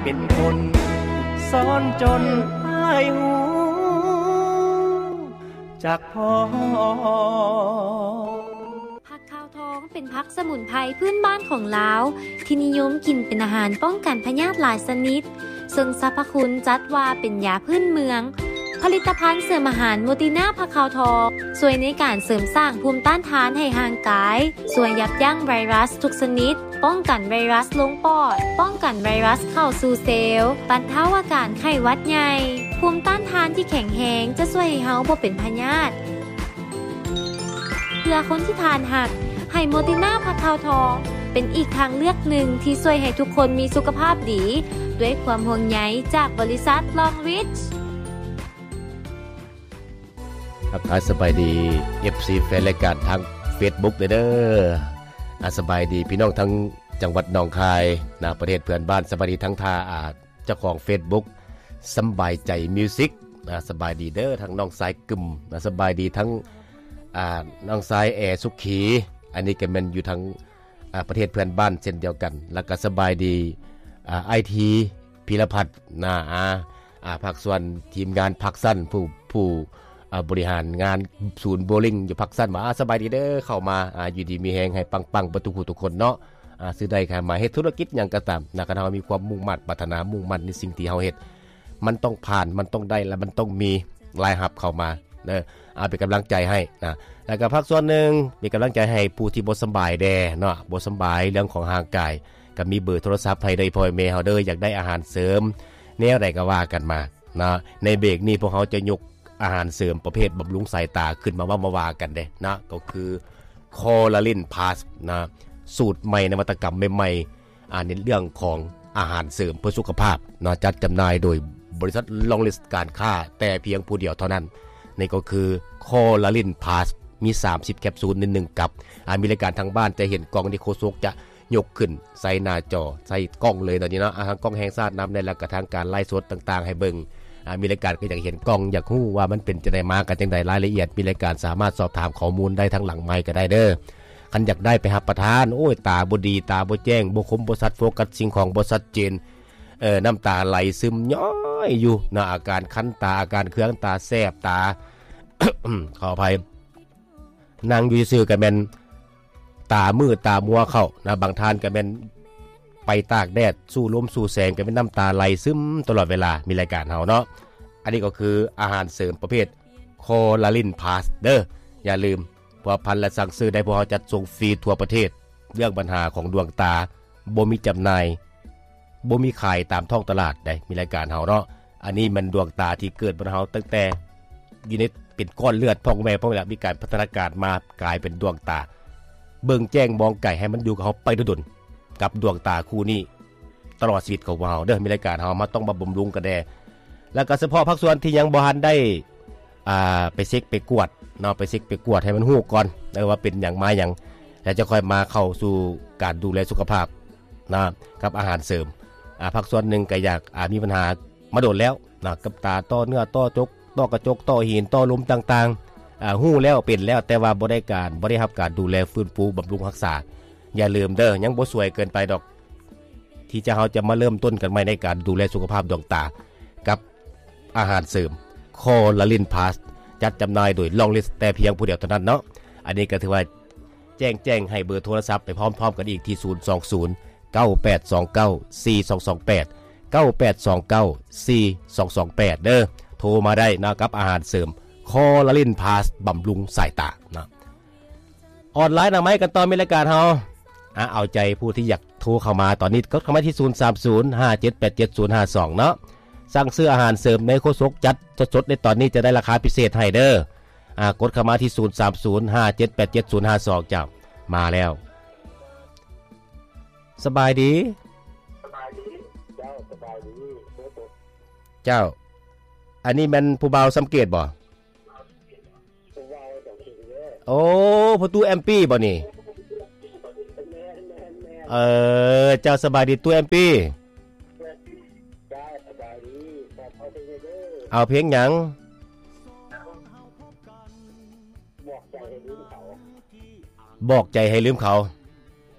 ເປັນຄົນສອນຈົນໃຫ້ຮູ້ຈັກພໍ. ຜັກຂາວທອງເປັນຜັກສະໝຸນໄພພື້ນບ້ານຂອງລາວ ທີ່ນິຍົມກິນເປັນອາຫານປ້ອງກັນພະຍາດຫຼາຍຊະນິດ, ເຊິ່ງສັບພະຄຸນຈັດວ່າເປັນຢາພື້ນເມືອງ. ຜະລິດຕະພັນເສີມອາຫານໂມຕິນາຜັກຂາວທອງ ຊ່ວຍໃນການເສີມສ້າງພູມຕ້ານທານໃຫ້ຮ່າງກາຍ, ຊ່ວຍຢັບຢັ້ງໄວຣັສທຸກຊະນິດ, ປ້ອງກັນໄວຣັສລົງປອດ, ປ້ອງກັນໄວຣັສເຂົ້າສູ່ເຊວ, ບັນເທົາອາການໄຂ້ຫວັດໃຫຍ່. ພູມຕ້ານທານທີ່ແຂງແຮງຈະຊ່ວຍໃຫ້ເຮົາບໍ່ເປັນພະຍາດ. ເພື່ອຄົນທີ່ທ່ານຮັກ, ໄຮໂມຕິນາຜັກຂາວທອງ ເປັນອີກທາງເລືອກໜຶ່ງທີ່ຊ່ວຍໃຫ້ທຸກຄົນມີສຸຂະພາບດີ, ດ້ວຍຄວາມຫ່ວງໃຍຈາກບໍລິສັດ Long Reach. ທັກທາຍສະບາຍດີ ເອັຟຊີ ແຟນລາຍການທາງເຟສບຸກເດີ. ອາ ສະບາຍດີພີ່ນ້ອງທັງຈັງຫວັດໜອງຄາຍນະ, ປະເທດເພື່ອນບ້ານ, ສະບາຍດີທັງທ່າ ອາ ເຈົ້າຂອງເຟສບຸກ ສຳບາຍໃຈມິວສິກ ອາ ສະບາຍດີເດີ ທັງນ້ອງຊາຍກຶມ ອາ ສະບາຍດີທັງ ອາ ນ້ອງຊາຍແອສຸຂີ ອັນນີ້ກໍແມ່ນຢູ່ທາງ ອາ ປະເທດເພື່ອນບ້ານເຊັ່ນດຽວກັນ ແລ້ວກໍສະບາຍດີ ອາ ອ້າຍທີ ພີລະພັດນະ ອາ ອາ ພາກສ່ວນທີມງານພາກຊັ້ນ ຜູ້ ຜູ້ ອາ ບໍລິຫານງານສູນໂບລິງຢູ່ພາກຊັ້ນວ່າ ອາ ສະບາຍດີເດີ ເຂົ້າມາ ອາ ຢູ່ດີມີແຮງ ໃຫ້ປັງໆເບິດທຸກຜູ້ທຸກຄົນເນາະ. ອາ ຊື່ໃດກໍມາເຮັດທຸລະກິດຫຍັງກໍຕາມນະ ຄັນເຮົາມີຄວາມມຸ່ງມາດປາດຖະໜາ ມຸ່ງໝັ້ນໃນສິ່ງທີ່ເຮົາເຮັດ ມັນຕ້ອງຜ່ານ ມັນຕ້ອງໄດ້ ແລະ ມັນຕ້ອງມີລາຍຮັບເຂົ້າມາເດີ. ອາ ເປັນກຳລັງໃຈໃຫ້ນະ ແລ້ວກໍພາກສ່ວນໜຶ່ງເປັນກຳລັງໃຈໃຫ້ຜູ້ທີ່ບໍ່ສຳບາຍແດ່ເນາະ ບໍ່ສຳບາຍເລື່ອງຂອງຮ່າງກາຍ ກໍມີເບີໂທລະສັບໃຫ້ເດີ ພໍ່ແມ່ເຮົາເດີ ຢາກໄດ້ອາຫານເສີມແນວໃດກໍວ່າກັນມາເນາະ. ໃນເບຣກນີ້ພວກເຮົາຈະຍົກ ອາຫານເສີມປະເພດບຳລຸງສາຍຕາຂຶ້ນມາເວົ້າມາວ່າກັນເດ້ນະ ກໍຄື Coraline Plus ນະ ສູດໃໝ່ ນະວັດຕະກຳໃໝ່ໆ ອາ ໃນເລື່ອງຂອງອາຫານເສີມເພື່ອສຸຂະພາບເນາະ ຈັດຈຳໜ່າຍໂດຍບໍລິສັດ Long Reach ການຄ້າແຕ່ພຽງຜູ້ດຽວເທົ່ານັ້ນ. ນີ້ກໍຄື Coraline Plus ມີສາມສິບແຄບຊູນໃນໜຶ່ງກັບ. ອາ ມີລາຍການທາງບ້ານຈະເຫັນກ່ອງທີ່ໂຄສົກຈະ ຍົກຂຶ້ນໃສ່ໜ້າຈໍ ໃສ່ກ້ອງເລີຍຕອນນີ້ເນາະ ອາ ທາງກ້ອງແຫ່ງຊາດນຳແດ່ ແລ້ວກະທາງການໄລຟ໌ສົດຕ່າງໆໃຫ້ເບິ່ງ. ອາ ມີລາຍການກໍຢາກເຫັນກ້ອງ ຢາກຮູ້ວ່າມັນເປັນຈັ່ງໃດມາກັນຈັ່ງໃດ ລາຍລະອຽດ ມີລາຍການສາມາດສອບຖາມຂໍ້ມູນໄດ້ທາງຫຼັງໄມກະໄດ້ເດີ. ຄັນຢາກໄດ້ໄປຮັບປະທານ ໂອ້ຍ ຕາບໍ່ດີ ຕາບໍ່ແຈ້ງ ບໍ່ຄົມ ບໍ່ຊັດໂຟກັສສິ່ງຂອງ ບໍ່ຊັດເຈນ ເອີ ນ້ຳຕາໄຫຼຊຶມຍ້ອຍຢູ່ນະ ອາການຄັນຕາ ອາການເຄືອງຕາ ແສບຕາ ຂໍອະໄພ ນັ່ງຢູ່ຊື່ໆ ກໍແມ່ນຕາມືດຕາມົວເຂົ້ານະ, ບາງທ່ານກໍແມ່ນໄປຕາກແດດ ສູ້ລົມສູ້ແສງ ກໍແມ່ນນ້ຳຕາໄຫຼຊຶມຕະຫຼອດເວລາ. ມີລາຍການເຮົາເນາະ, ອັນນີ້ກໍຄືອາຫານເສີມປະເພດ Coraline Plus ເດີ. ຢ່າລືມພົວພັນ ແລະ ສັ່ງຊື້ໄດ້, ພວກເຮົາຈັດສົ່ງຟຣີທົ່ວປະເທດ. ເລື່ອງບັນຫາຂອງດວງຕາ ບໍ່ມີຈຳໜ່າຍ ບໍ່ມີຂາຍຕາມທ້ອງຕະຫຼາດໃດ໋ ມີລາຍການເຮົາເນາະ. ອັນນີ້ແມ່ນດວງຕາທີ່ເກີດມາເຮົາຕັ້ງແຕ່ຢູ່ໃນເປັນກ້ອນເລືອດ ພໍ່ແມ່ ພໍ່ແມ່ ມີການພັດທະນາການມາກາຍເປັນດວງຕາ ເບິ່ງແຈ້ງມອງໄກ ໃຫ້ມັນຢູ່ກັບເຮົາໄປດົນໆ ກັບດວງຕາຄູ່ນີ້ຕະຫຼອດຊີວິດຂອງພວກເຮົາເດີ. ມີລາຍການເຮົາມາ ຕ້ອງມາບຳລຸງກັນແດ່ ແລ້ວກໍສະເພາະພາກສ່ວນທີ່ຍັງບໍ່ທັນໄດ້ ອ່າ ໄປເຊັກໄປກວດເນາະ, ໄປເຊັກໄປກວດໃຫ້ມັນຮູ້ກ່ອນ ເອີ ວ່າເປັນຫຍັງມາຫຍັງ ແລ້ວຈະຄ່ອຍມາເຂົ້າສູ່ການດູແລສຸຂະພາບນະ ກັບອາຫານເສີມ. ອ່າ ພາກສ່ວນໜຶ່ງກໍຢາກ ອ່າ ມີບັນຫາມາດົນແລ້ວນະ ກັບຕາ ຕໍ່ເນື້ອ ຕໍ່ຈົກ ຕໍ່ກະຈົກ ຕໍ່ຫີນ ຕໍ່ລົມຕ່າງໆ. ອ່າ ຮູ້ແລ້ວ ເປັນແລ້ວ ແຕ່ວ່າບໍ່ໄດ້ການ ບໍ່ໄດ້ຮັບການດູແລຟື້ນຟູບຳລຸງຮັກສາ. ຢ່າລືມເດີ ຍັງບໍ່ສວຍເກີນໄປດອກ ທີ່ຈະ ເຮົາຈະມາເລີ່ມຕົ້ນກັນໃໝ່ໃນການດູແລສຸຂະພາບດວງຕາ ກັບ ອາຫານເສີມ Coraline Plus ຈັດຈຳໜ່າຍໂດຍ Long Reach ແຕ່ພຽງຜູ້ດຽວເທົ່ານັ້ນເນາະ. ອັນນີ້ກໍຖືວ່າແຈ້ງ ແຈ້ງໃຫ້ເບີໂທລະສັບໄປພ້ອມໆກັນອີກທີ່ ສູນສອງສູນ ເກົ້າແປດສອງເກົ້າ ສີ່ສອງສອງແປດ ເກົ້າແປດສອງເກົ້າ ສີ່ສອງສອງແປດ ເດີ. ໂທມາໄດ້ນະ ກັບອາຫານເສີມ Coraline Plus ບຳລຸງສາຍຕາເນາະ. ອອນລາຍໜ້າໄມ້ກັນຕໍ່ ມີລາຍການເຮົາ ອາ ເອົາໃຈຜູ້ທີ່ຢາກໂທເຂົ້າມາຕອນນີ້ ກົດເຂົ້າມາທີ່ ສູນສາມສູນ ຫ້າເຈັດແປດເຈັດ ສູນຫ້າສອງເນາະ. ສັ່ງຊື້ອາຫານເສີມໃນໂຄສົກ ຈັດສົດໆໃນຕອນນີ້ ຈະໄດ້ລາຄາພິເສດໃຫ້ເດີ. ອາ ກົດເຂົ້າມາທີ່ ສູນສາມສູນ ຫ້າເຈັດແປດເຈັດ ສູນຫ້າສອງ ເຈົ້າ ມາແລ້ວ. ສະບາຍດີ ສະບາຍດີ ເຈົ້າ ສະບາຍດີ ເຈົ້າ. ອັນນີ້ແມ່ນຜູ້ບ່າວສຳເກດບໍ່? ໂອ້ ພໍ່ຕູ້ແອມປີ້ບໍ່ນີ້? ເອີ ເຈົ້າ ສະບາຍດີຕູ້ແອມປີ້? ເອົາເພງຫຍັງ? ບອກໃຈໃຫ້ລືມເຂົາ.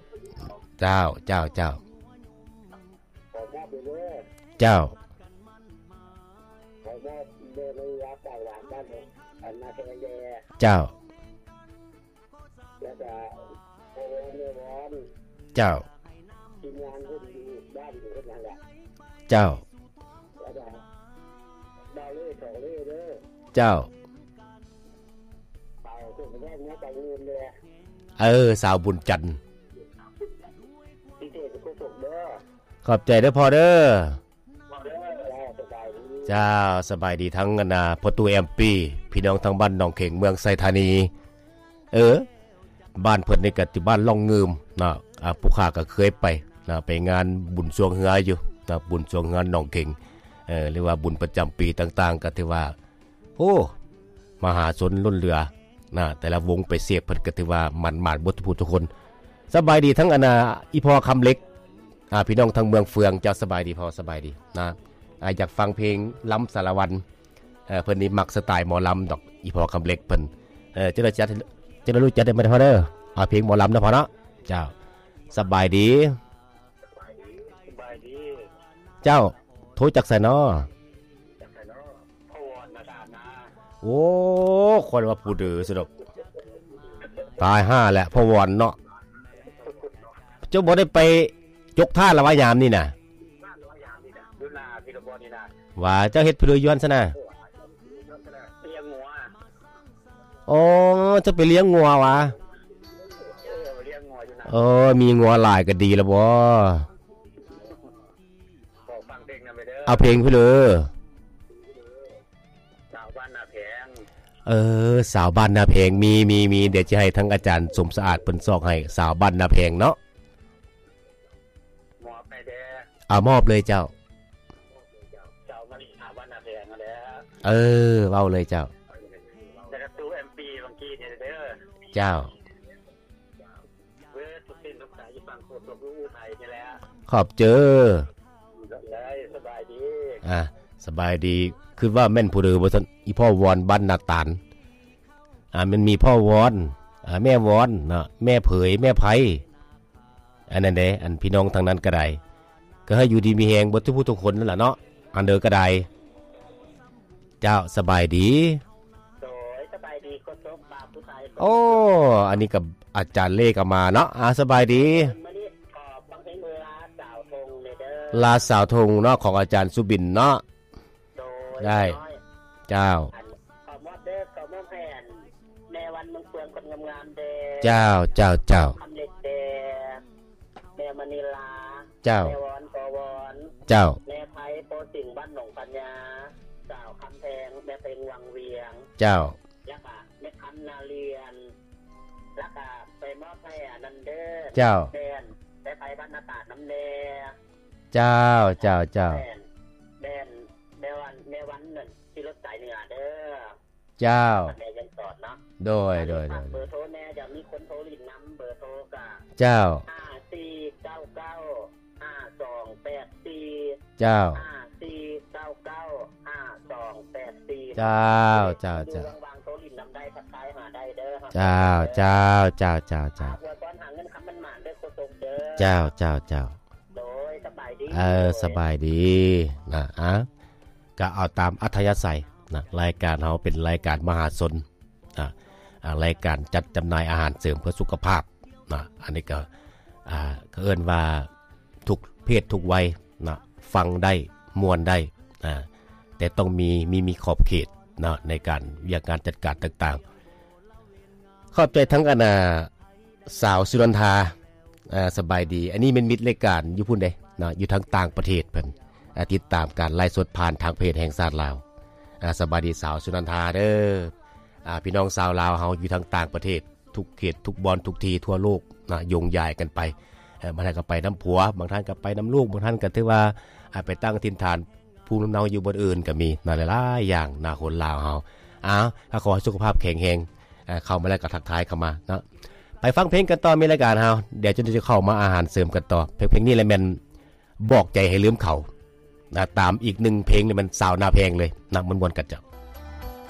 ເຈົ້າ ເຈົ້າ ເຈົ້າ. ເຈົ້າ ເຈົ້າ ເຈົ້າ ເຈົ້າ ເອີ ສາວບຸນຈັນ ຂອບໃຈເດີພໍ່ເດີ. ເຈົ້າ ສະບາຍດີທັງອັນນາ ພໍ່ຕູ້ແອມປີ ພີ່ນ້ອງທາງບ້ານໜອງເຂັງ ເມືອງໄຊທານີ. ເອີ ບ້ານເພິ່ນນີ້ກະຕິ ບ້ານລ່ອງງື່ມເນາະ. ອາ ຜູ້ຂ້າກະເຄີຍໄປເນາະ ໄປງານບຸນຊ່ວງເຮືອຢູ່ເນາະ ບຸນຊ່ວງເຮືອໜອງເຂັງ ເອີ ຫຼືວ່າບຸນປະຈຳປີຕ່າງໆ ກະຖືວ່າ ໂອ້ ມະຫາຊົນລົ້ນເຫຼືອນະ ແຕ່ລະວົງໄປເສບ ເພິ່ນກະຖືວ່າໝານໆ ເບິດທຸກຜູ້ທຸກຄົນ. ສະບາຍດີທັງອັນນາ ອີ່ພໍ່ຄຳເຫຼັກ ອາ ພີ່ນ້ອງທາງເມືອງເຟືອງ. ເຈົ້າ ສະບາຍດີພໍ່ ສະບາຍດີນະ. ອາ ຢາກຟັງເພງລຳສາລະວັນ ເອີ ເພິ່ນນີ້ມັກສະໄຕລ໌ໝໍລຳດອກ ອີ່ພໍ່ຄຳເຫຼັກເພິ່ນ. ເອີ ເຈົ້າ ເຈົ້າ ເຈົ້າ ຮູ້ຈັກໄດ້ບໍ່ພໍ່ເດີ ອາ ເພງໝໍລຳເນາະພໍ່ເນາະ. ເຈົ້າ ສະບາຍດີ ສະບາຍດີ ເຈົ້າ ໂທຈາກໃສນໍ? ໂອ້ ຂ້ອຍວ່າຜູ້ເດີຊັ້ນດອກ ຕາຍຫ່າແຫຼະ ພໍ່ວອນເນາະ. ເຈົ້າບໍ່ໄດ້ໄປຈົກທາດລະວະ ຍາມນີ້ນະ? ວ່າເຈົ້າເຮັດຜູ້ເດີຢູ່ຫັ້ນຊັ້ນນະ? ອໍ ເຈົ້າໄປລ້ຽງງົວຫວາ? ເອີ ມີງົວຫຼາຍກະດີລະບໍ? ຂໍຟັງເພງນຳເດີ ເອົາເພງເພິ່ນເລີ ສາວບ້ານນາແພງ. ເອີ ສາວບ້ານນາແພງ ມີ ມີ ມີ ດຽວຈະໃຫ້ທາງອາຈານສົມສະອາດເພິ່ນຊອກໃຫ້ ສາວບ້ານນາແພງເນາະ. ມອບໃຫ້ເດີ ເອົາ ມອບເລີຍເຈົ້າ ສາວມາລິ ສາວບ້ານນາແພງຫັ້ນແຫຼະ. ເອີ ເວົ້າເລີຍເຈົ້າ ແລ້ວກະຕູ້ແອມປີ ບາງກີ້ນີ້ເດີ ເຈົ້າ. ເບິດທຸກສິ່ງທຸກສາຍຢູ່ຝັ່ງໂຄສົກຢູ່ອູໄທນີ້ແຫຼະ ຂອບເຈີ ສະບາຍດີ ອາ ສະບາຍດີ. ຄິດວ່າແມ່ນຜູ້ເດີບໍ່ຊັ້ນ ອີ່ພໍ່ວອນບ້ານນາຕານ ອາ ມັນມີພໍ່ວອນ ອາ ແມ່ວອນເນາະ ແມ່ເຜີຍ ແມ່ໄພ ອັນນັ້ນເດ້ ອັນພີ່ນ້ອງທາງນັ້ນກະໄດ້ ກະໃຫ້ຢູ່ດີມີແຮງເບິດທຸກຜູ້ທຸກຄົນນັ້ນລະເນາະ ອັນເດີກະໄດ້. ເຈົ້າ ສະບາຍດີ ໂດຍ ສະບາຍດີ ໂຄສົກ ບ່າວຜູ້ໄທ. ໂອ້ ອັນນີ້ກະອາຈານເລກະມາເນາະ ອາ ສະບາຍດີ. ມື້ນີ້ຂໍຟັງເພງລາສາວທົ່ງແດ່ເດີ ລາສາວທົ່ງເນາະ ຂອງອາຈານສຸບິນເນາະ. ໂດຍ ໄດ້ ເຈົ້າ ອັນ ຂໍມອບເດີ ຂໍມອບໃຫ້ອັນ ແມ່ວັນເມືອງເຟືອງ ຄົນງາມໆເດີ ເຈົ້າ ເຈົ້າ ເຈົ້າ ຄຳເຫຼັກເດີ ແມ່ມະນີລາ ເຈົ້າ ແມ່ວອນ ພໍ່ວອນ ເຈົ້າ ແມ່ໄພ ໂພສິງ ບ້ານໜອງພະຍາ ສາວຄຳແພງ ແມ່ເພັງ ວັງວຽງ ເຈົ້າ ແລ້ວກະແມ່ຄຳ ນາລຽນ ແລ້ວກະໄປມອບໃຫ້ອັນນັ້ນເດີ ເຈົ້າ ແມ່ໄພ ບ້ານນາຕານນຳແດ່ ເຈົ້າ ເຈົ້າ ເຈົ້າ ແມ່ ແມ່ວັນ ແມ່ວັນນັ້ນ ຂີ່ລົດສາຍເໜືອເດີ ເຈົ້າ ແມ່ຍັງສອນເນາະ ໂດຍ ໂດຍ ໂດຍ ເບີໂທແດ່ ຈະມີຄົນໂທຫຼິ້ນນຳ ເບີໂທກະ ເຈົ້າ ຫ້າສີ່ເກົ້າເກົ້າຫ້າສອງແປດສີ່ ເຈົ້າ ຫ້າສີ່ເກົ້າເກົ້າຫ້າສອງແປດສີ່ ເຈົ້າ ເຈົ້າ ເຈົ້າ ວ່າງໆໂທຫຼິ້ນນຳໄດ້ ທັກທາຍຫາໄດ້ເດີ ເຈົ້າ ເຈົ້າ ເຈົ້າ ເຈົ້າ ເຈົ້າ ອວຍພອນຫາເງິນຄຳໝານໆເດີ ໂຄສົກເດີ ເຈົ້າ ເຈົ້າ ເຈົ້າ ໂດຍ ສະບາຍດີ ເອີ ສະບາຍດີນະ ອາ ກະເອົາຕາມອັດທະຍາໄສນະ ລາຍການເຮົາເປັນລາຍການມະຫາຊົນ ອາ ອາ ລາຍການຈັດຈຳໜ່າຍອາຫານເສີມເພື່ອສຸຂະພາບນະ ອັນນີ້ກະ ອາ ກະເອີ້ນວ່າທຸກເພດທຸກໄວນະ ຟັງໄດ້ ມ່ວນໄດ້ ອາ ແຕ່ຕ້ອງມີ ມີ ມີຂອບເຂດເນາະ ໃນການວຽກງານຈັດການຕ່າງໆ. ຂອບໃຈທັງອັນນາ ສາວສຸນັນທາ ອາ ສະບາຍດີ ອັນນີ້ແມ່ນມິດລາຍການຢູ່ພຸ້ນເດ້ເນາະ ຢູ່ທາງຕ່າງປະເທດເພິ່ນ ອາ ຕິດຕາມການໄລຟ໌ສົດຜ່ານທາງເພຈແຫ່ງຊາດລາວ ອາ ສະບາຍດີສາວສຸນັນທາເດີ ອາ ພີ່ນ້ອງຊາວລາວເຮົາຢູ່ທາງຕ່າງປະເທດ ທຸກເຂດທຸກບ່ອນທຸກທີ່ທົ່ວໂລກນະ ໂຍງຢາຍກັນໄປ ເອີ ບາງທ່ານກະໄປນຳຜົວ ບາງທ່ານກະໄປນຳລູກ ບາງທ່ານກະຖືວ່າ ອາ ໄປຕັ້ງຖິ່ນຖານ ພູມລຳເນົາຢູ່ບ່ອນອື່ນກະມີນະ ຫຼາຍໆຢ່າງນະ ຄົນລາວເຮົາ. ເອົາ ກະຂໍໃຫ້ສຸຂະພາບແຂງແຮງ ເຂົ້າມາແລ້ວກະທັກທາຍເຂົ້າມາເນາະ. ໄປຟັງເພງກັນຕໍ່ ມີລາຍການເຮົາ ດຽວຈະໄດ້ເຂົ້າມາອາຫານເສີມກັນຕໍ່. ເພງ ເພງນີ້ແຫຼະແມ່ນບອກໃຈໃຫ້ລືມເຂົານະ ຕາມອີກໜຶ່ງເພງນີ້ແມ່ນສາວນາແພງເລີຍນະ ມ່ວນໆກັນເຈົ້າ.